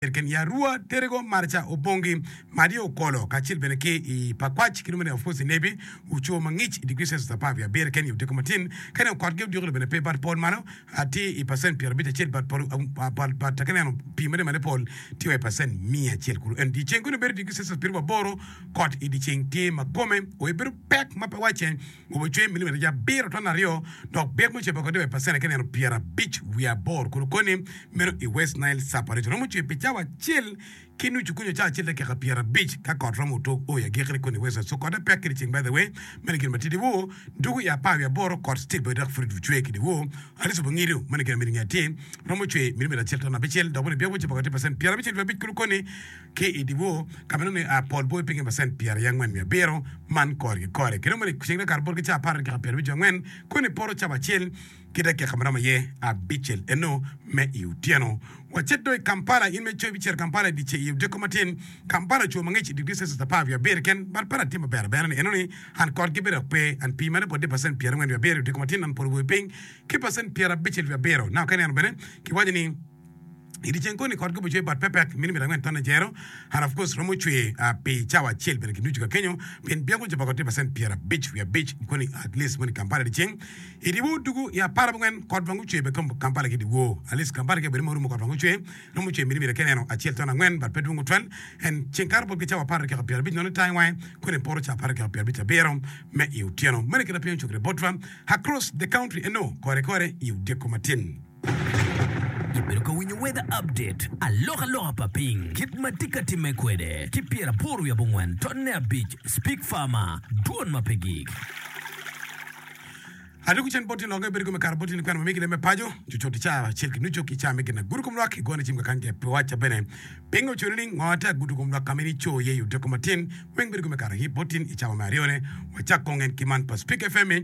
Ken i Arua, Terego, Marca, Obongi, Madi Okolo, kacel bene ki i Pakwach ki dong bene of course i Nebi, Ocoo mangic i degree Celsius 17 ken i odiko matin. Ka ineno kotgi odiko-ni bene pe but pol malo tye i percent 51 but pol but ka ineno pii ma tye malo i pol tye wa i percent 100 kulu. En dyeceng kono bedo degree Celsius 80 kot i dyeceng tye ma kome oye bedo pek ma pe wacce. Obo cwer milimita abiro ton aryo dok byek me cebo kodi wa i pacent ki nino 58 kulu koni meno i West Nile Sub-Region. Romo cwer pi cawa acel ki nucu kunyo cawa acel dakika 50 ka kot romo otug o i agikki koni i West Nile. So kote pek ki dyeceng by the way meno gin matidi woo dugu i apar wiye aboro kot still bene dok pud cwer ki dyewor. Alice Obongido meno gin amito nge atir romo cwer milimita acel ton abicel dok bene byek me cebo kodi pacent 55 kulu koni Ki i dyewor, ka ma nongo ni pol boyo pinye pacent 47, man kore ki kore. Kendo meno i ceng dakika bot ki cawa apar dakika 54, koni poto cawa acel ki dakika ma romo aye abicel eno me i otyeno. Wacit dong i Kampala, in ma icoyo ibicito Kampala i dyeceng i odiko matin. Kampala ocung mangic i digri Celsius apar wiye abiro keken, but pe tye maber abera ni eno ni an kotgi bene dok pe, an pii meno pwod tye pacent 47 i odiko matin an pol oboyo piny ki pacent 57. Now ka ineno bene kiwaco ni I dyeceng koni kot gubo cwer bot pepek milimita angwen tonne jero and of course romo cwer pi cawa acel bene ki nucu ka kenyo pien byeko jo pa kot tye pacent 55.5 koni at least moni Kampala dyeceng i dyewor dugu i apar abongwen kot bene gucwer bene Kampala ki dyewor at least Kampala ki obedo ma orumo kot bene gucwer romo cwer milimita ki neno acel ton angwen but pe dwong tutwal and ceng kato bot ki cawa apar dakika 50 nono itangi wange koni poto cawa apar dakika 57 me i otyeno meno kit ma piny ocung kwede botwa across the country eno kore kore i odiko matin. Ibedo ka winyo Weather Update, alokaloka pa piny, kit ma tye ka timme kwede, ki pyeraboro wiye abongwen tonne abic, Speak Farmer, dwon ma pe gik. Adwogo cen boti longe bedo kome kare boti ni kwena ma megi leme paco cucut i caa acel ki nucu ki caa me gin agudo kom lwak igone cim kakany ke wacca bene pingo ocono ni ngo ate agudo kom lwak kama in ico iye i odiko matin weng bedo kome kare hi botin i cawa me aryone wacak kong en ki man pa Speak FM i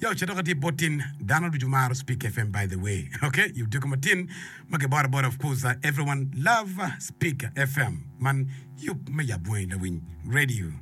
Ya ocito ka tye bot tin dano ducu maro speak FM by the way ok i odiko matin ma kiboro abora of course everyone love speak FM man yub me yab wangi lawiny radio.